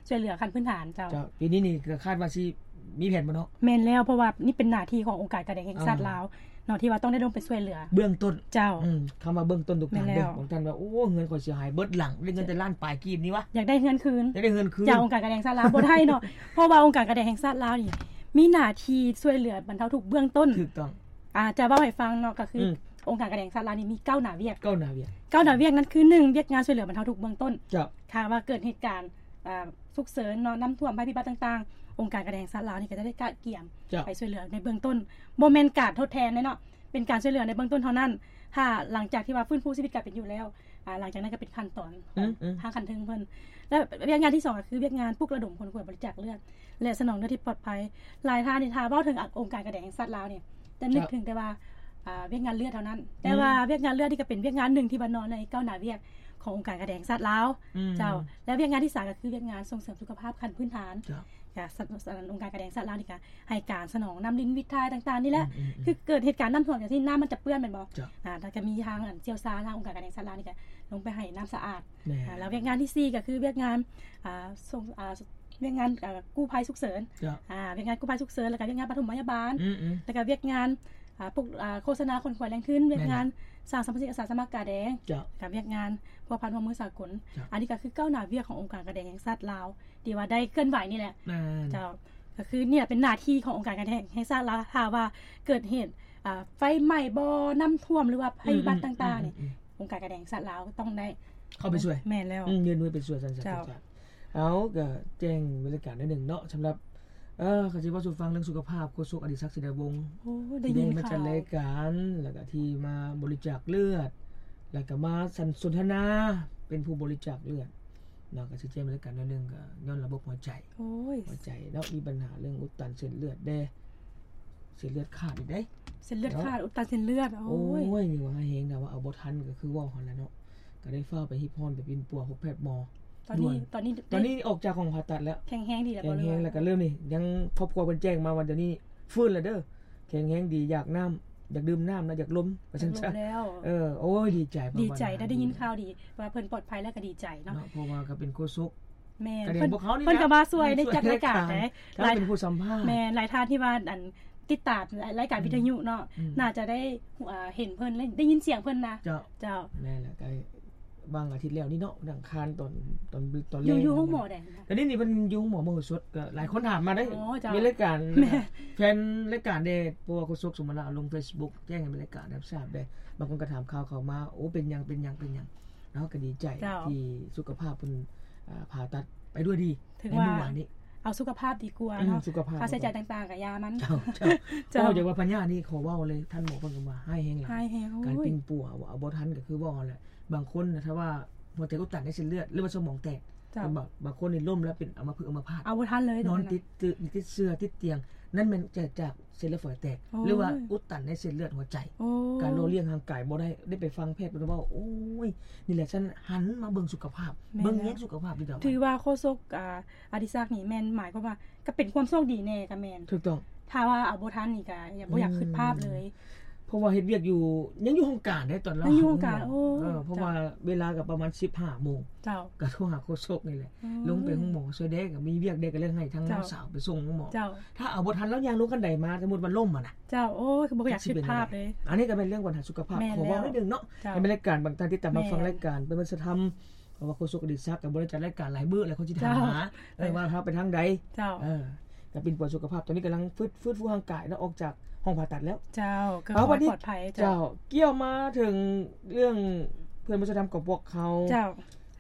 ຊ່ວຍເຫຼືອຂັ້ນພື້ນຖານເຈົ້າ. ເຈົ້າ ປີນີ້ນີ້ກໍຄາດວ່າຊິມີແຜນບໍ່ເນາະ? ແມ່ນແລ້ວ ເພາະວ່ານີ້ເປັນໜ້າທີ່ຂອງອົງການການແດງແຫ່ງຊາດລາວເນາະ ທີ່ວ່າຕ້ອງໄດ້ລົງໄປຊ່ວຍເຫຼືອເບື້ອງຕົ້ນເຈົ້າ. ອືມ ຄຳວ່າເບື້ອງຕົ້ນຕ້ອງການເດີ້. ບາງທ່ານວ່າ ໂອ້ ເຮືອນຂ້ອຍເສຍຫາຍເບິດຫຼັງ ໄດ້ເງິນແຕ່ລ້ານປາຍກີບນີ້ວະ ຢາກໄດ້ເຮືອນຄືນ ຢາກໄດ້ເຮືອນຄືນ ຈາກອົງການການແດງຊາດລາວບໍ່ໄດ້ເນາະ ເພາະວ່າອົງການການແດງແຫ່ງຊາດລາວນີ້ ມີໜ້າທີ່ຊ່ວຍເຫຼືອບັນເທົາທຸກເບື້ອງຕົ້ນ. ຖືກຕ້ອງ. ອາ ຈະເວົ້າໃຫ້ຟັງເນາະ ກໍຄື ອືມ ອົງການການແດງຊາດລາວນີ້ມີເກົ້າໜ້າວຽກ. ເກົ້າໜ້າວຽກ. ເກົ້າໜ້າວຽກນັ້ນຄື ໜຶ່ງ ວຽກງານຊ່ວຍເຫຼືອບັນເທົາທຸກເບື້ອງຕົ້ນ. ເຈົ້າ. ຖ້າວ່າເກີດເຫດການ ອາ ສຸກເສີນເນາະ ນ້ຳຖ້ວມ ໄພພິບັດຕ່າງໆ ອົງການການແດງແຫ່ງຊາດລາວນີ້ກໍຈະໄດ້ກະກຽມ ເຈົ້າ ໄປຊ່ວຍເຫຼືອໃນເບື້ອງຕົ້ນ ບໍ່ແມ່ນການທົດແທນເດ້ເນາະ ເປັນການຊ່ວຍເຫຼືອໃນເບື້ອງຕົ້ນເທົ່ານັ້ນ. ຖ້າຫຼັງຈາກທີ່ວ່າຟື້ນຟູຊີວິດການເປັນຢູ່ແລ້ວ ອາ ຫຼັງຈາກນັ້ນກໍເປັນຂັ້ນຕອນຂອງ ອືມໆ ທາງຂັ້ນເທິງເພິ່ນ. ແລະ ວຽກງານທີສອງກໍຄືວຽກງານປຸກລະດົມຄົນຂວດບໍລິຈາກເລືອດ ແລະ ສະໜອນເລືອດທີ່ປອດໄພ. ຫຼາຍທ່ານນີ້ ຖ້າເວົ້າເຖິງ ອາ ອົງການການແດງແຫ່ງຊາດລາວນີ້ ຈະນຶກ ເຈົ້າ ເຖິງແຕ່ວ່າ ອາ ວຽກງານເລືອດເທົ່ານັ້ນ ແຕ່ວ່າ ອືມ ວຽກງານເລືອດນີ້ກໍເປັນວຽກງານໜຶ່ງທີ່ວ່ານອນໃນເກົ້າໜ້າວຽກຂອງອົງການການແດງແຫ່ງຊາດລາວ. ອືມ ເຈົ້າ. ແລະ ວຽກງານທີສາມກໍຄືວຽກງານສົ່ງເສີມສຸຂະພາບຂັ້ນພື້ນຖານ. ເຈົ້າ. ກະ ສະ ສະ ອົງການການແດງແຫ່ງຊາດລາວນີ້ກະໃຫ້ການສະໜອງນ້ຳລິນວິດຖ່າຍຕ່າງໆນີ້ແຫຼະ. ອືມໆໆ ຄືເກີດເຫດການນ້ຳຖ້ວມຈັ່ງຊີ້ ນ້ຳມັນຈະເປື້ອນແມ່ນບໍ່? ເຈົ້າ. ອາ ແລ້ວກະມີທາງ ອັນ ຊ່ຽວຊານທາງອົງການການແດງແຫ່ງຊາດລາວນີ້ກະລົງໄປໃຫ້ນ້ຳສະອາດ. ແມ່ນ. ອາ ແລ້ວວຽກງານທີສີ່ກໍຄືວຽກງານ ອາ ສົ່ງ ອາ ວຽກງານ ອາ ກູ້ໄພສຸກເສີນ. ເຈົ້າ. ອາ ວຽກງານກູ້ໄພສຸກເສີນ ແລ້ວກໍວຽກງານປະຖົມພະຍາບານ. ອືມໆ. ແລ້ວກໍວຽກງານ ອາ ປຸກ ອາ ໂຄສະນາຂົນຂວາຍແຫຼ່ງທຶນ, ວຽກງານ ແມ່ນແລ້ວ ສ້າງສຳປະສິດ ອາສາສະໝັກກາແດງ. ເຈົ້າ. ແລ້ວກໍວຽກງານພົວພັນຮ່ວມມືສາກົນ. ເຈົ້າ. ອັນນີ້ກໍຄືເກົ້າໜ້າວຽກຂອງອົງການການແດງແຫ່ງຊາດລາວ ທີ່ວ່າໄດ້ເຄື່ອນໄຫວນີ້ແຫຼະ. ແມ່ນ. ເຈົ້າ. ກໍຄືນີ້ແຫຼະເປັນໜ້າທີ່ຂອງອົງການການແດງແຫ່ງຊາດລາວ ຖ້າວ່າເກີດເຫດ ອາ ໄຟໄໝ້ບໍ່ ນ້ຳຖ້ວມ ຫຼືວ່າໄພພິບັດຕ່າງໆນີ້ ອືມໆໆໆ ອົງການການແດງແຫ່ງຊາດລາວຕ້ອງໄດ້ເຂົ້າໄປຊ່ວຍ. ແມ່ນແລ້ວ. ອືມ ຍື່ນມືໄປຊ່ວຍ ຊັ້ນຊະ. ເຈົ້າ. ເອົາ ກໍແຈ້ງບັນຍາກາດໜ້ອຍໜຶ່ງເນາະ ສຳລັບ ເອີ ຄັນຊິເວົ້າສູ່ຟັງເລື່ອງສຸຂະພາບ ໂຄສົກອະດີສັກ ສີດາວົງ ໂອ້ ໄດ້ຍິນຂ່າວ ທີ່ໄດ້ມາຈັດລາຍການ ແລ້ວກໍທີ່ມາບໍລິຈາກເລືອດ ແລ້ວກໍມາສັນ ສົນທະນາເປັນຜູ້ບໍລິຈາກເລືອດເນາະ ກໍຊິແຈ້ງບັນຍາກາດໜ້ອຍໜຶ່ງ ກໍຍ້ອນລະບົບຫົວໃຈ. ໂອ້ຍ ຫົວໃຈເນາະ ມີບັນຫາເລື່ອງອຸດຕັນເສັ້ນເລືອດເດ້ ເສັ້ນເລືອດຂາດອີກເດ້. ເສັ້ນເລືອດຂາດ ເນາະ ອຸດຕັນເສັ້ນເລືອດ. ໂອ້ຍ ໂອ້ຍ ນີ້ວ່າຮ້າຍແຮງນະ ວ່າເອົາບໍ່ທັນ ກໍຄືເວົ້າຫັ້ນແຫຼະເນາະ ກໍໄດ້ຟ້າວໄປຮີບຮ້ອນໄປປິ່ນປົວພົບແພດໝໍ. ຕອນນີ້ ຕອນນີ້ ຕອນນີ້ອອກຈາກຫ້ອງຜ່າຕັດແລ້ວ ແຂງແຮງດີແລ້ວ. ແຂງແຮງແລ້ວກໍເລີ່ມນີ້ ຍັງຄອບຄົວເພິ່ນແຈ້ງມາວ່າດຽວນີ້ຟື້ນແລ້ວເດີ້ ແຂງແຮງດີ ຢາກນ້ຳ ຢາກດື່ມນ້ຳນະ ຢາກລົມ ວ່າຊັ້ນຊະ. ເອີ ໂອ້ຍ ດີໃຈ ດີໃຈໄດ້ຍິນຂ່າວດີວ່າເພິ່ນປອດໄພແລ້ວກໍດີໃຈເນາະ ເນາະ ເພາະວ່າກໍເປັນໂຄສົກ. ແມ່ນ. ກະແມ່ນ ເພິ່ນ ພວກເຮົານີ້ ເພິ່ນກໍມາຊ່ວຍໃນຈັດລາຍການເດ້. ເຈົ້າ ເປັນຜູ້ສຳພາດ ແມ່ນ ຫຼາຍທ່ານທີ່ວ່າ ອັນ ຕິດຕາມລາຍ ລາຍການ ອືມ ວິທະຍຸເນາະ ອືມ ໜ້າຈະໄດ້ ເອີ ເຫັນເພິ່ນ ໄດ້ຍິນສຽງເພິ່ນນະ. ເຈົ້າ ເຈົ້າ ແມ່ນແຫຼະ ກໍຫວ່າງອາທິດແລ້ວນີ້ເນາະ ວັນອັງຄານຕອນ ຕອນ ຕອນແລງ ຢູ່ ຢູ່ໂຮງໝໍໃດ? ຕອນນີ້ນີ້ເພິ່ນຢູ່ໂຮງໝໍມະໂຫສົດ ກໍຫຼາຍຄົນຖາມມາເດ້. ອໍ ເຈົ້າ ມີລາຍການ ແມ່ນ ແຟນລາຍການເດ້ ເພາະວ່າໂຄສົກສົມມະລາລົງເຟສບຸກ ແຈ້ງໃຫ້ແມ່ນລາຍການຮັບຊາບເດ້. ບາງຄົນກໍຖາມຂ່າວເຂົ້າມາ ໂອ້ ເປັນຫຍັງ ເປັນຫຍັງ ເປັນຫຍັງ? ເຮົາກໍດີໃຈ ເຈົ້າ ທີ່ສຸຂະພາບເພິ່ນ ອາ ຜ່າຕັດໄປດ້ວຍດີ ຖືວ່າ ໃນມື້ວານນີ້ ເອົາສຸຂະພາບດີກວ່າເນາະ. ອືມ ສຸຂະພາບ ຄ່າໃຊ້ຈ່າຍຕ່າງໆກໍຢ່າມັນ. ເຈົ້າ ເຈົ້າ ເຈົ້າ ເວົ້າຢ່າງວ່າພະຍາດນີ້ ຂໍເວົ້າເລີຍ ທ່ານໝໍເພິ່ນກໍວ່າຮ້າຍແຮງຫຼາຍ. ຮ້າຍແຮງ. ໂອ້ຍ ການປິ່ນປົວ ເອົາບໍ່ທັນ ກໍຄືເວົ້າຫັ້ນແຫຼະ. ບາງຄົນນະ ຖ້າວ່າຫົວໃຈອຸດຕັນໃນເສັ້ນເລືອດ ຫຼືວ່າສະໝອງແຕກ ເຈົ້າ ບາງ ບາງຄົນນີ້ລົ້ມແລ້ວເປັນອຳມະພຶກອຳມະພາດ ເອົາບໍ່ທັນເລີຍ ນອນຕິດເຕີ ຕິດເຊື້ອ ຕິດຕຽງ ນັ້ນແມ່ນຈາກ ຈາກ ເສັ້ນເລືອດຝອຍແຕກ ໂອ້ຍ ຫຼືວ່າອຸດຕັນໃນເສັ້ນເລືອດຫົວໃຈ. ໂອ້ ການຫຼໍ່ລ້ຽງຮ່າງກາຍບໍ່ໄດ້ ໄດ້ໄປຟັງແພດເພິ່ນເວົ້າ ໂອ້ຍ ນີ້ແຫຼະ ຊັ້ນຫັນມາເບິ່ງສຸຂະພາບ ແມ່ນແລ້ວ ເບິ່ງແຍງສຸຂະພາບດີກວ່າ. ຖືວ່າໂຄສົກ ອາ ອະດິສັກນີ້ແມ່ນໝາຍຄວາມວ່າ ກໍເປັນຄວາມໂຊກດີແດ່ ກໍແມ່ນ. ຖືກຕ້ອງ. ຖ້າວ່າເອົາບໍ່ທັນນີ້ກໍບໍ່ຢາກຄຶດພາບເລີຍ ອືມ ເພາະວ່າເຮັດວຽກຢູ່ ຍັງຢູ່ຫ້ອງການເດ້ ຕອນລາວ ຍັງຢູ່ຫ້ອງການ. ໂອ້ ເຈົ້າ ເພາະວ່າເວລາກໍປະມານສິບຫ້າໂມງ ເຈົ້າ ກໍໂທຫາໂຄສົກນີ້ແຫຼະ ອືມ ລົງໄປໂຮງໝໍຊ່ວຍແດ່ ກໍມີວຽກແດ່ ກໍເລີຍໃຫ້ທາງ ເຈົ້າ ນ້ອງສາວໄປສົ່ງໂຮງໝໍ. ເຈົ້າ ຖ້າເອົາບໍ່ທັນ ລາວຍ່າງລົງຄັນໄດມາ ສົມມຸດວ່າລົ້ມຫັ້ນນະ. ເຈົ້າ ໂອ້ຍ ຄືບໍ່ຢາກຄຶດພາບເລີຍ. ອັນນີ້ກໍແມ່ນເລື່ອງບັນຫາສຸຂະພາບ ແມ່ນແລ້ວ ຂໍເວົ້າໜ້ອຍໜຶ່ງເນາະ ເຈົ້າ ໃຫ້ແມ່ນລາຍການ ບາງທ່ານຕິດຕາມ ແມ່ນ ຮັບຟັງລາຍການ ເປັນວັດທະນະທຳ ເພາະວ່າໂຄສົກອະດີສັກກໍບໍ່ໄດ້ຈັດລາຍການຫຼາຍມື້ແລ້ວ ຄົນຊິຖາມຫາ ເຈົ້າ ເອີ ວ່າເຮົາໄປທາງໃດ. ເຈົ້າ ເອີ ກໍປິ່ນປົວສຸຂະພາບ ຕອນນີ້ກຳລັງຟື້ນ ຟື້ນຟູຮ່າງກາຍເນາະ ອອກຈາກຫ້ອງຜ່າຕັດແລ້ວ. ເຈົ້າ ກໍຂໍໃຫ້ປອດໄພ. ເຈົ້າ ເຈົ້າ ກ່ຽວມາເຖິງເລື່ອງເພື່ອນວັດທະນະທຳຂອງພວກເຮົາ ເຈົ້າ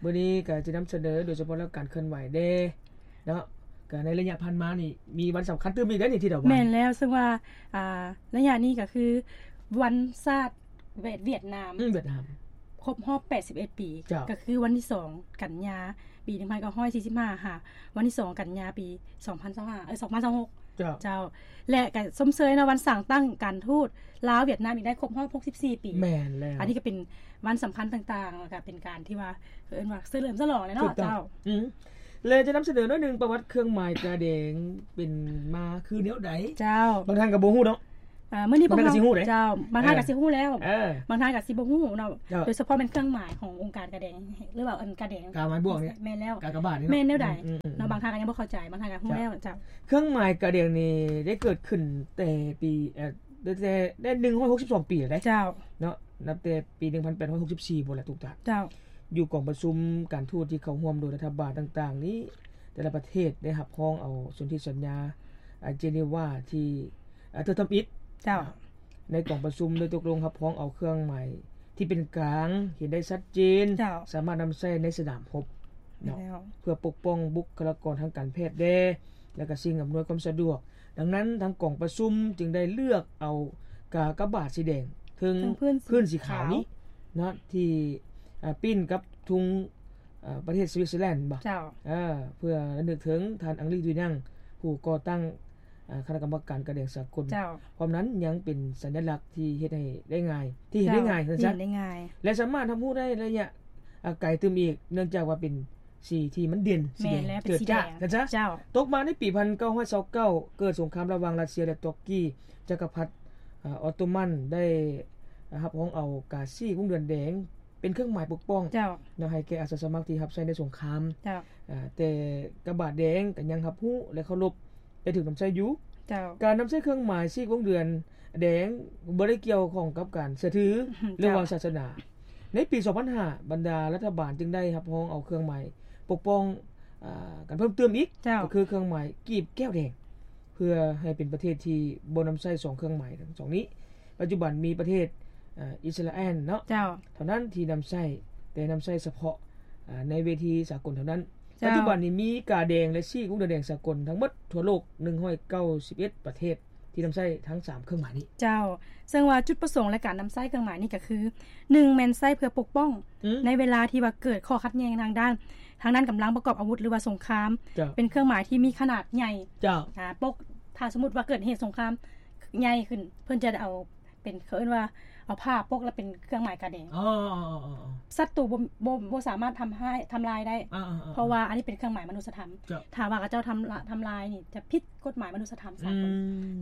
ມື້ນີ້ກໍຈະນຳສະເໜີໂດຍສະເພາະເລື່ອງການເຄື່ອນໄຫວເດ້ເນາະ ກໍໃນໄລຍະຜ່ານມານີ້ ມີວັນສຳຄັນຕື່ມອີກເດ້ນີ້ ທີ່ດາວາ. ແມ່ນແລ້ວ ເຊິ່ງວ່າ ອ່າ ໄລຍະນີ້ກໍຄືວັນຊາດ ຫວຽດ ຫວຽດນາມ ອືມ ຫວຽດນາມ ຄົບຮອບແປດສິບເອັດປີ ເຈົ້າ ກໍຄືວັນທີສອງກັນຍາ ປີໜຶ່ງພັນເກົ້າຮ້ອຍສີ່ສິບຫ້າ ຫາ ວັນທີສອງກັນຍາ ປີສອງພັນຊາວຫ້າ ເອີ ສອງພັນຊາວຫົກ. ເຈົ້າ ເຈົ້າ ແລະ ກໍຊົມເຊີຍເນາະ ວັນສ້າງຕັ້ງການທູດລາວຫວຽດນາມອີກໄດ້ຄົບຮອບຫົກສິບສີ່ປີ. ແມ່ນແລ້ວ ອັນນີ້ກໍເປັນວັນສຳຄັນຕ່າງໆ ແລ້ວກໍເປັນການທີ່ວ່າ ເອີ້ນວ່າສະເຫຼີມສະຫຼອງແຫຼະເນາະ. ເຈົ້າ ອືມ ແລະ ຈະນຳສະເໜີໜ້ອຍໜຶ່ງ ປະຫວັດເຄື່ອງໝາຍກາແດງເປັນມາຄືແນວໃດ. ເຈົ້າ ບາງທ່ານກໍບໍ່ຮູ້ເນາະ. ອ່າ ມື້ນີ້ພວກເຮົາ ບາງທ່ານກໍຊິຮູ້ເດ້ ເຈົ້າ ບາງທ່ານກໍຊິບໍ່ຮູ້ເນາະ ເຈົ້າ ໂດຍສະເພາະແມ່ນເຄື່ອງໝາຍຂອງອົງການກາແດງ ຫຼືວ່າອັນກາແດງ ກາໝາຍບວກນີ້ ແມ່ນແລ້ວ ກາກະບາດນີ້ເນາະ ແມ່ນແນວໃດເນາະ ບາງທ່ານກໍຍັງບໍ່ເຂົ້າໃຈ ບາງທ່ານກໍຮູ້ແລ້ວ ເຈົ້າ ເຈົ້າ ເຄື່ອງໝາຍກາແດງນີ້ໄດ້ເກີດຂຶ້ນແຕ່ປີ ເອີ ຕັ້ງແຕ່ໄດ້ໜຶ່ງຮ້ອຍຫົກສິບສອງປີແລ້ວເດ້ ເຈົ້າ ເນາະ ນັບແຕ່ປີໜຶ່ງພັນແປດຮ້ອຍຫົກສິບສີ່ພຸ້ນແຫຼະ ທຸກທ່ານ ເຈົ້າ ຢູ່ກອງປະຊຸມການທູດທີ່ເຂົ້າຮ່ວມໂດຍລັດຖະບານຕ່າງໆນີ້ ແຕ່ລະປະເທດໄດ້ຮັບຮອງເອົາສົນທິສັນຍາ ອາ ເຈນີວາ ທີ່ ອາ ເທື່ອທຳອິດ ເຈົ້າ ໃນກອງປະຊຸມໄດ້ຕົກລົງຮັບຮອງເອົາເຄື່ອງໝາຍທີ່ເປັນກາງ ເຫັນໄດ້ຊັດເຈນ ເຈົ້າ ສາມາດນຳໃຊ້ໃນສະໜາມຮົບເນາະ ແມ່ນແລ້ວ ເພື່ອປົກປ້ອງບຸກຄະລາກອນທາງການແພດແດ່ ແລະ ກໍສິ່ງອຳນວຍຄວາມສະດວກ. ດັ່ງນັ້ນ ທາງກອງປະຊຸມຈຶ່ງໄດ້ເລືອກເອົາກາກະບາດສີແດງເທິງ ເທິງພື້ນ ພື້ນສີຂາວນີ້ເນາະ ທີ່ ອາ ປີ້ນກັບທຸງ ອາ ປະເທດສະວິດເຊີແລນ ເຈົ້າ ເອີ ເພື່ອລະນຶກເຖິງທ່ານ ອັງລີ ດຸຍນັງ ຜູ້ກໍ່ຕັ້ງ ອາ ຄະນະກຳມະການກາແດງສາກົນ ເຈົ້າ ພ້ອມນັ້ນຍັງເປັນສັນຍະລັກທີ່ເຮັດໃຫ້ໄດ້ງ່າຍ ທີ່ເຫັນໄດ້ງ່າຍ ເຈົ້າ ວ່າຊັ້ນຊະ ເຫັນໄດ້ງ່າຍ ແລະ ສາມາດຮັບຮູ້ໄດ້ໄລຍະ ອາ ໄກຕື່ມອີກ ເນື່ອງຈາກວ່າເປັນສີທີ່ມັນເດັ່ນ ສີແດງ ແມ່ນແລ້ວ ເຈີດຈ້າ ເປັນສີແດງ ຊັ້ນຊະ ເຈົ້າ ຕົກມາໃນປີພັນເກົ້າຮ້ອຍຊາວເກົ້າ ເກີດສົງຄາມລະຫວ່າງຣັດເຊຍ ແລະ ຕຸກກີ ຈັກກະພັດ ອາ ອອດໂຕມັນໄດ້ ອາ ຮັບຮອງເອົາກາສີກວົງເດືອນແດງ ເປັນເຄື່ອງໝາຍປົກປ້ອງ ເຈົ້າ ເນາະ ໃຫ້ແກ່ອາສາສະໝັກທີ່ຮັບໃຊ້ໃນສົງຄາມ ເຈົ້າ ອາ ແຕ່ກາບາດແດງກໍຍັງຮັບຮູ້ ແລະ ເຄົາລົບ ແລະ ຖືກນຳໃຊ້ຢູ່ ເຈົ້າ ການນຳໃຊ້ເຄື່ອງໝາຍສີກວົງເດືອນແດງບໍ່ໄດ້ກ່ຽວຂ້ອງກັບການເຊື່ອຖື ເຈົ້າ ຫຼືວ່າສາສະໜາ. ໃນປີສອງພັນຫ້າ ບັນດາລັດຖະບານຈຶ່ງໄດ້ຮັບຮອງເອົາເຄື່ອງໝາຍປົກປ້ອງ ອາ ກັນເພີ່ມເຕີມອີກ ເຈົ້າ ກໍຄືເຄື່ອງໝາຍກີບແກ້ວແດງ ເພື່ອໃຫ້ເປັນປະເທດທີ່ບໍ່ນຳໃຊ້ສອງເຄື່ອງໝາຍທັງສອງນີ້. ປັດຈຸບັນມີປະເທດ ເອີ ອິດສະຣາແອນເນາະ ເຈົ້າ ເທົ່ານັ້ນທີ່ນຳໃຊ້ ແຕ່ນຳໃຊ້ສະເພາະ ອາ ໃນເວທີສາກົນເທົ່ານັ້ນ. ເຈົ້າ ປັດຈຸບັນນີ້ມີກາແດງ ແລະ ສີກວົງເດືອນແດງສາກົນທັງໝົດທົ່ວໂລກໜຶ່ງຮ້ອຍເກົ້າສິບເອັດປະເທດທີ່ນຳໃຊ້ທັງສາມເຄື່ອງໝາຍນີ້. ເຈົ້າ ເຊິ່ງວ່າຈຸດປະສົງ ແລະ ການນຳໃຊ້ເຄື່ອງໝາຍນີ້ກໍຄື ໜຶ່ງ ແມ່ນໃຊ້ເພື່ອປົກປ້ອງ ອືມ ໃນເວລາທີ່ວ່າເກີດຂໍ້ຂັດແຍ່ງທາງດ້ານ ທາງດ້ານກຳລັງປະກອບອາວຸດ ຫຼືວ່າສົງຄາມ ເຈົ້າ ເປັນເຄື່ອງໝາຍທີ່ມີຂະໜາດໃຫຍ່ ເຈົ້າ ອາ ປົກ ຖ້າສົມມຸດວ່າເກີດເຫດສົງຄາມໃຫຍ່ຂຶ້ນ ເພິ່ນຈະໄດ້ເອົາ ເປັນ ເຂົາເອີ້ນວ່າເອົາຜ້າປົກ ແລ້ວເປັນເຄື່ອງໝາຍກາແດງ. ອໍ ສັດຕູບໍ່ ບໍ່ ບໍ່ສາມາດທຳຮ້າຍ ທຳລາຍໄດ້ ເພາະວ່າອັນນີ້ເປັນເຄື່ອງໝາຍມະນຸດສະທຳ. ຖ້າວ່າເຂົາເຈົ້າທຳລາ ທຳລາຍນີ້ ຈະຜິດກົດໝາຍມະນຸດສະທຳສາກົນ.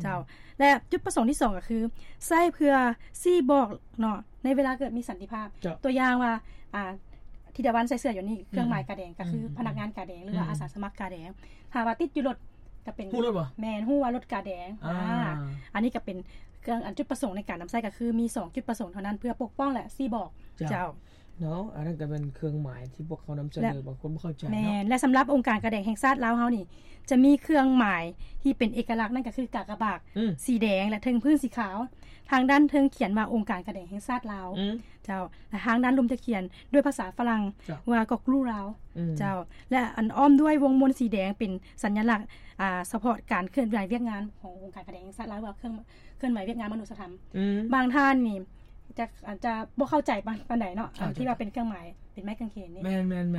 ເຈົ້າ ແລະ ຈຸດປະສົງທີສອງກໍຄື ໃຊ້ເພື່ອຊີ້ບອກເນາະ ໃນເວລາເກີດມີສັນຕິພາບ. ຕົວຢ່າງວ່າ ອາ ທິດາວັນໃສ່ເສື້ອຢູ່ນີ້ ເຄື່ອງໝາຍກາແດງ ກໍຄືພະນັກງານກາແດງ ຫຼືວ່າອາສາສະໝັກກາແດງ. ຖ້າວ່າຕິດຢູ່ລົດ ກໍເປັນ ຮູ້ລົດບໍ່? ແມ່ນ ຮູ້ວ່າລົດກາແດງ. ອາ ອັນນີ້ກໍເປັນເຄື່ອງ ອັນຈຸດປະສົງໃນການນຳໃຊ້ ກໍຄືມີສອງຈຸດປະສົງເທົ່ານັ້ນ ເພື່ອປົກປ້ອງ ແລະ ຊີ້ບອກ. ເຈົ້າ ເຈົ້າ ເນາະ ອັນນັ້ນກໍແມ່ນເຄື່ອງໝາຍທີ່ພວກເຂົານຳສະເໜີ ບາງຄົນບໍ່ເຂົ້າໃຈເນາະ. ແມ່ນ ແລະ ສຳລັບອົງການກາແດງແຫ່ງຊາດລາວເຮົານີ້ ຈະມີເຄື່ອງໝາຍທີ່ເປັນເອກະລັກ ນັ້ນກໍຄືກາກະບາດ ອືມ ສີແດງ ແລະ ເທິງພື້ນສີຂາວ. ທາງດ້ານເທິງຂຽນວ່າ ອົງການກາແດງແຫ່ງຊາດລາວ. ອືມ ເຈົ້າ ແລະ ທາງດ້ານລຸ່ມຈະຂຽນດ້ວຍພາສາຝຣັ່ງ ເຈົ້າ ວ່າ Goklu Lao. ອືມ ເຈົ້າ ແລະ ອັນອ້ອມດ້ວຍວົງມົນສີແດງ ເປັນສັນຍະລັກ ອາ ສະເພາະການເຄື່ອນໄຫວວຽກງານຂອງອົງການກາແດງແຫ່ງຊາດລາວ ວ່າເຄື່ອງ ເຄື່ອນໄຫວວຽກງານມະນຸດສະທຳ. ອືມ ບາງທ່ານນີ້ຈະ ອາດຈະບໍ່ເຂົ້າໃຈປານ ປານໃດເນາະ ອ່າ ອັນທີ່ວ່າເປັນເຄື່ອງໝາຍ ເປັນໄມ້ກາງເຂນນີ້. ແມ່ນໆໆ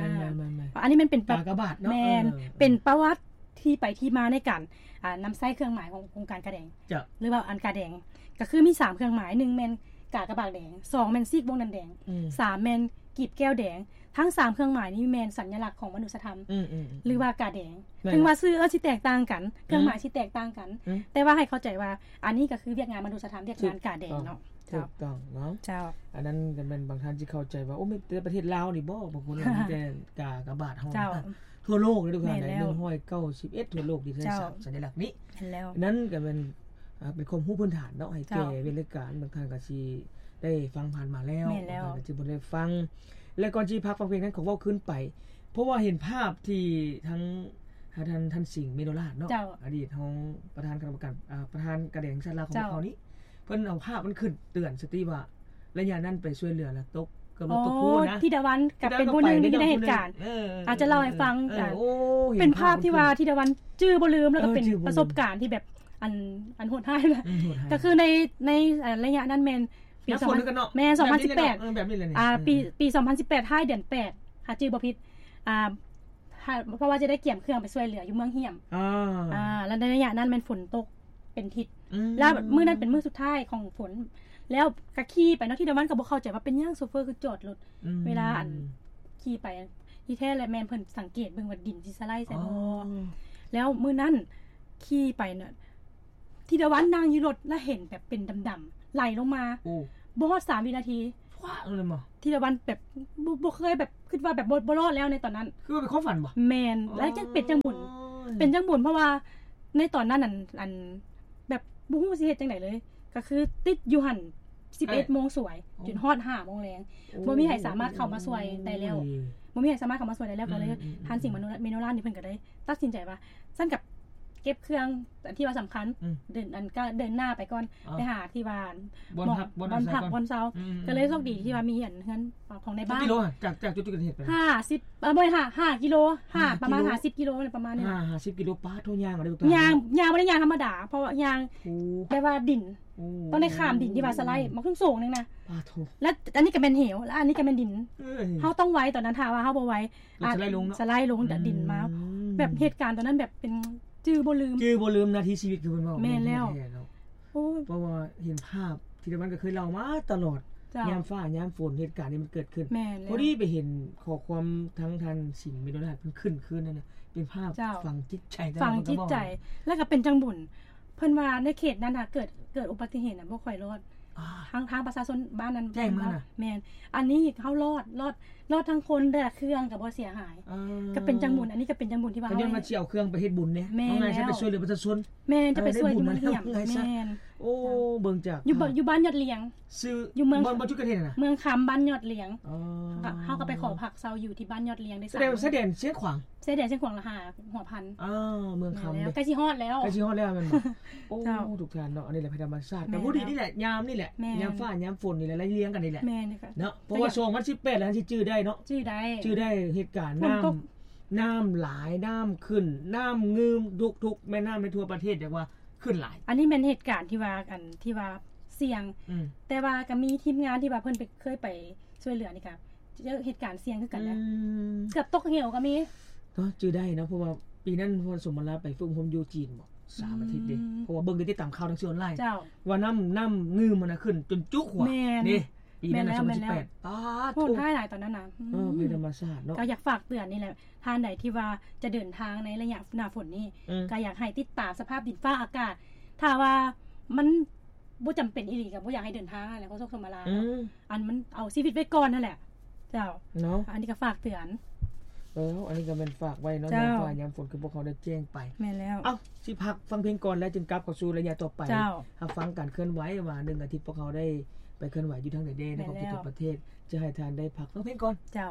ໆໆ ອັນນີ້ມັນເປັນປະ ກາກະບາດເນາະ. ແມ່ນ ເອີ ເປັນປະຫວັດ ທີ່ໄປທີ່ມາໃນການ ອ່າ ນຳໃຊ້ເຄື່ອງໝາຍຂອງ ຂອງອົງການກາແດງ ເຈົ້າ ຫຼືວ່າອັນກາແດງ ກໍຄືມີສາມເຄື່ອງໝາຍ ໜຶ່ງແມ່ນກາກະບາດແດງ ສອງແມ່ນຊີກວົງເດືອນແດງ ອືມ ສາມແມ່ນກີບແກ້ວແດງ. ທັງສາມເຄື່ອງໝາຍນີ້ແມ່ນສັນຍະລັກຂອງມະນຸດສະທຳ ອືມໆໆ ຫຼືວ່າກາແດງ ແມ່ນ ເຖິງວ່າຊື່ເອີ້ນຊິແຕກຕ່າງກັນ ອືມ ເຄື່ອງໝາຍຊິແຕກຕ່າງກັນ ອືມ ແຕ່ວ່າໃຫ້ເຂົ້າໃຈວ່າ ອັນນີ້ກໍຄືວຽກງານມະນຸດສະທຳ ວຽກງານກາແດງເນາະ. ຖືກ ເຈົ້າ ຖືກຕ້ອງເນາະ. ເຈົ້າ ອັນນັ້ນກໍແມ່ນບາງທ່ານຊິເຂົ້າໃຈວ່າ ໂອ້ ມີແຕ່ປະເທດລາວນີ້ບໍ? ບາງຄົນວ່າມີແຕ່ກາກະບາດເຮົາ. ເຈົ້າ ທົ່ວໂລກເລີຍທຸກທ່ານ ແມ່ນແລ້ວ ໜຶ່ງຮ້ອຍເກົ້າສິບເອັດທົ່ວໂລກທີ່ໃຊ້ ເຈົ້າ ສາ ສັນຍະລັກນີ້. ແມ່ນແລ້ວ ນັ້ນກໍແມ່ນ ອາ ເປັນຄວາມຮູ້ພື້ນຖານເນາະ ໃຫ້ແກ່ ເຈົ້າ ເວລາການ ບາງທ່ານກໍຊິໄດ້ຟັງຜ່ານມາແລ້ວ ແມ່ນແລ້ວ ບາງທ່ານກໍຊິບໍ່ໄດ້ຟັງ. ແລະ ກ່ອນຊິພັກຟັງເພງນັ້ນ ຂໍເວົ້າຄືນໄປ ເພາະວ່າເຫັນພາບທີ່ທັງ ອາ ທ່ານ ທ່ານສິງ ເມໂນລາດເນາະ ເຈົ້າ ອະດີດຮອງປະທານຄະນະກຳມະການ ອາ ປະທານກາແດງແຫ່ງຊາດລາວຂອງ ເຈົ້າ ພວກເຮົານີ້ ເພິ່ນເອົາພາບມັນຂຶ້ນເຕືອນສະຕິວ່າ ໄລຍະນັ້ນໄປຊ່ວຍເຫຼືອແລ້ວຕົກ ເກືອບວ່າຕົກພູນນະ. ທິດາວັນກໍເປັນຜູ້ໜຶ່ງທີ່ໄດ້ເຫັນການ ເອີ ອາດຈະເລົ່າໃຫ້ຟັງ. ເອີ ເປັນພາບທີ່ວ່າທິດາວັນຈື່ບໍ່ລືມ ແລ້ວກໍເປັນປະສົບການທີ່ແບບ ອັນ ອັນໂຫດຮ້າຍນະ. ອືມ ໂຫດຮ້າຍ ກໍຄືໃນ ໃນ ເອີ ໄລຍະນັ້ນແມ່ນປີ ແມ່ນ ສອງພັນສິບແປດ ແບບນີ້ແຫຼະ ອາ ອືມ ປີ ປີສອງພັນສິບແປດ ທ້າຍເດືອນແປດ ຖ້າຈື່ບໍ່ຜິດ ອາ ເພາະວ່າຈະໄດ້ກຽມເຄື່ອງໄປຊ່ວຍເຫຼືອຢູ່ເມືອງຫ້ຽມ. ອາ ອາ ແລ້ວໃນໄລຍະນັ້ນແມ່ນຝົນຕົກເປັນທິດ ອືມ ແລ້ວມື້ນັ້ນເປັນມື້ສຸດທ້າຍຂອງຝົນ ແລ້ວກໍຂີ່ໄປເນາະ. ທິດາວັນກໍບໍ່ເຂົ້າໃຈວ່າເປັນຫຍັງໂຊເຟີຄືຈອດລົດ ອືມ ເວລາອັນຂີ່ໄປ ທີ່ແທ້ແລ້ວແມ່ນເພິ່ນສັງເກດເບິ່ງວ່າດິນຊິສະໄລໃສ່ບໍ່. ອໍ ແລ້ວມື້ນັ້ນຂີ່ໄປເນາະ ທີລະວັນນັ່ງຢູ່ລົດ ແລ້ວເຫັນແບບເປັນດຳໆ ໄຫຼລົງມາ ໂອ້ ບໍ່ຮອດສາມວິນາທີ ຟາດເລີຍບໍ່? ທີລະວັນແບບ ບໍ່ ບໍ່ເຄີຍແບບ ຄິດວ່າແບບບໍ່ ບໍ່ລອດແລ້ວໃນຕອນນັ້ນ. ຄືວ່າເປັນຄວາມຝັນບໍ່? ແມ່ນ. ອໍ ແລ້ວຈັ່ງເປັນຈັ່ງບຸນ ເປັນຈັ່ງບຸນ ເພາະວ່າໃນຕອນນັ້ນ ອັນ ອັນ ແບບບໍ່ຮູ້ຊິເຮັດຈັ່ງໃດເລີຍ ກໍຄືຕິດຢູ່ຫັ້ນ ສິບເອັດໂມງສວຍ ໂອ້ ຈົນຮອດຫ້າໂມງແລງ ໂອ້ ບໍ່ມີໃຜສາມາດເຂົ້າມາຊ່ວຍໄດ້ແລ້ວ ໂອ້ຍ ບໍ່ມີໃຜສາມາດເຂົ້າມາຊ່ວຍໄດ້ແລ້ວ ອືມ ກໍເລີຍ ອືມ ທ່ານສິງມະໂນລານ ເມໂນລານນີ້ ເພິ່ນກໍໄດ້ຕັດສິນໃຈວ່າ ຊັ້ນກັບເກັບເຄື່ອງອັນທີ່ວ່າສຳຄັນ ອືມ ເດີນ ອັນ ກໍເດີນໜ້າໄປກ່ອນ ອໍ ໄປຫາທີ່ວ່າ ບ່ອນພັກ ບ່ອນອາໄສ ບ່ອນພັກ ບ່ອນເຊົາ ອືມ ກໍເລີຍໂຊກດີທີ່ວ່າມີອັນເຮືອນຂອງໃນບ້ານ ຈັກກິໂລ ຈາກ ຈາກຈຸດເກີດເຫດໄປ? ຫ້າສິບ ເອີ ບໍ່ ຫ້າ ຫ້າກິໂລ ຫ້າ ປະມານຫ້າສິບກິໂລ ປະມານນີ້ ຫ້າສິບກິໂລ ປາໂທ້ ຍ່າງເອົາເດ້ ຍ່າງ ຍ່າງບໍ່ໄດ້ຍ່າງທຳມະດາ ເພາະວ່າຍ່າງ ໂອ້ ແບບວ່າດິນ ໂອ້ ຕ້ອງໄດ້ຂ້າມດິນທີ່ວ່າສະໄລ ໂອ້ ບັກສູງໆ ໜຶ່ງນະ ປາໂທ້ ແລ້ວອັນນີ້ກໍແມ່ນເຫວ ແລ້ວອັນນີ້ກໍແມ່ນດິນ ເອີຍ ເຮົາຕ້ອງໄວ ຕອນນັ້ນຖ້າວ່າເຮົາບໍ່ໄວ ລົດສະໄລລົງເນາະ ອາດສະໄລລົງ ອືມ ແລ້ວດິນມາ ແບບເຫດການຕອນນັ້ນແບບເປັນຈື່ບໍ່ລືມ ຈື່ບໍ່ລືມນາທີຊີວິດ ຄືເພິ່ນເວົ້າ ແມ່ນແລ້ວ ແມ່ນເນາະ ໂອ້ຍ ເພາະວ່າເຫັນພາບທີ່ມັນກໍເຄີຍເລົ່າມາຕະຫຼອດ ເຈົ້າ ຍາມຟ້າຍາມຝົນ ເຫດການນີ້ມັນເກີດຂຶ້ນ ແມ່ນແລ້ວ ພໍດີໄປເຫັນຂໍ້ຄວາມທາງທ່ານສິງ ເມໂນລານ ເພິ່ນຂຶ້ນຄືນນັ້ນນະ ເປັນພາບ ເຈົ້າ ຝັງຈິດໃຈ ຝັງຈິດໃຈ ແລ້ວກໍເປັນຈັ່ງບຸນ ເພິ່ນວ່າໃນເຂດນັ້ນນະ ເກີດ ເກີດອຸບັດຕິເຫດນະ ບໍ່ຄ່ອຍລອດ ອ່າ ທາງ ທາງປະຊາຊົນບ້ານນັ້ນ ແຈ້ງມານະ ແມ່ນ ອັນນີ້ເຮົາລອດ ລອດ ລອດທັງຄົນ ແລະເຄື່ອງກໍບໍ່ເສຍຫາຍ ອ່າ ກໍເປັນຈັ່ງບຸນ ອັນນີ້ກໍເປັນຈັ່ງບຸນທີ່ວ່າ ກໍຍ້ອນວ່າຊິເອົາເຄື່ອງໄປເຮັດບຸນເດ້ ແມ່ນແລ້ວ ເຮົາໄປຊ່ວຍເຫຼືອມປະຊາຊົນ ແມ່ນ ຈະໄປຊ່ວຍທີ່ມັນຮຽບ ງ່າຍຊະ ແມ່ນ ໂອ້ ເບິ່ງຈາກ ຢູ່ ຢູ່ບ້ານຍອດລຽງ ຊື່ ຢູ່ເມືອງ ບ່ອນ ບ່ອນຈຸດເກີດເຫດນະ ເມືອງຄຳ ບ້ານຍອດລຽງ ອໍ ເຮົາກໍໄປຂໍພັກເຊົາຢູ່ທີ່ບ້ານຍອດລຽງໄດ້ ສະແດງວ່າຊາຍແດນຊຽງຂວາງ ຊາຍແດນຊຽງຂວາງ ລະຫາຫົວພັນ ອໍ ເມືອງຄຳ ແມ່ນແລ້ວ ເດ້ ໃກ້ຊິຮອດແລ້ວ ໃກ້ຊິຮອດແລ້ວແມ່ນບໍ່? ໂອ້ ເຈົ້າ ທຸກທ່ານເນາະ ອັນນີ້ແຫຼະໄພທຳມະຊາດ ແມ່ນ ກໍພໍດີນີ້ແຫຼະ ຍາມນີ້ແຫຼະ ແມ່ນ ຍາມຟ້າຍາມຝົນນີ້ແຫຼະ ໄລ່ລຽງກັນນີ້ແຫຼະ ແມ່ນ ເນາະ ເພາະວ່າ ກໍຢາກ ສອງພັນສິບແປດແລ້ວ ຊິຈື່ໄດ້ເນາະ ຈື່ໄດ້ ຈື່ໄດ້ ເຫດການ ຝົນຕົກ ນ້ຳ ນ້ຳຫຼາຍ ນ້ຳຂຶ້ນ ນ້ຳງື່ມ ທຸກໆ ແມ່ນ້ຳໃນທົ່ວປະເທດ ເອີ້ນວ່າຂຶ້ນຫຼາຍ ອັນນີ້ແມ່ນເຫດການທີ່ວ່າ ອັນທີ່ວ່າສ່ຽງ ອືມ ແຕ່ວ່າກໍມີທີມງານທີ່ວ່າເພິ່ນໄປ ເຄີຍໄປຊ່ວຍເຫຼືອນີ້ກໍ ເຈີເຫດການສ່ຽງຄືກັນນະ ອືມ ເກືອບຕົກເຫວກໍມີ ເນາະ ຈື່ໄດ້ເນາະ ເພາະວ່າປີນັ້ນ ເພາະສົມມະລາໄປຝຶກອົບຮົມຢູ່ຈີນບໍ ສາມອາທິດເດ້ ອືມ ເພາະວ່າເບິ່ງໄດ້ຕິດຕາມຂ່າວທາງສື່ອອນລາຍ ເຈົ້າ ວ່ານ້ຳ ນ້ຳງື່ມມັນນະຂຶ້ນຈົນຈຸກຫົວ ແມ່ນ ເດ້ ປີນັ້ນນະ ແມ່ນແລ້ວ ສອງພັນສິບແປດ ແມ່ນແລ້ວ ປາດໂທ້ ໂຫດຮ້າຍຫຼາຍຕອນນັ້ນນະ ອືມ ເອີ ເປັນທຳມະຊາດເນາະ ກໍຢາກຝາກເຕືອນນີ້ແຫຼະ ທ່ານໃດທີ່ວ່າຈະເດີນທາງໃນໄລຍະໜ້າຝົນນີ້ ອືມ ກໍຢາກໃຫ້ຕິດຕາມສະພາບດິນຟ້າອາກາດ ຖ້າວ່າມັນ ບໍ່ຈຳເປັນອີ່ຫຼີກໍບໍ່ຢາກໃຫ້ເດີນທາງຫັ້ນແຫຼະ ໂຄສົກສົມມະລາ ອືມ ອັນມັນເອົາຊີວິດໄວ້ກ່ອນຫັ້ນແຫຼະ ເຈົ້າ ເນາະ ອັນນີ້ກໍຝາກເຕືອນ ເອີ ອັນນີ້ກໍແມ່ນຝາກໄວ້ເນາະ ເຈົ້າ ຍາມຟ້າຍາມຝົນ ຄືພວກເຮົາໄດ້ແຈ້ງໄປ ແມ່ນແລ້ວ ເອົ້າ ຊິພັກຟັງເພງກ່ອນ ແລ້ວຈຶ່ງກັບເຂົ້າສູ່ໄລຍະຕໍ່ໄປ ເຈົ້າ ຮັບຟັງການເຄື່ອນໄຫວວ່າ ໜຶ່ງອາທິດພວກເຮົາໄດ້ໄປເຄື່ອນໄຫວຢູ່ທາງໃດແດ່ ໃນຂອບເຂດ ແມ່ນແລ້ວ ທົ່ວປະເທດ ຈະໃຫ້ທ່ານໄດ້ພັກຟັງເພງກ່ອນ ເຈົ້າ.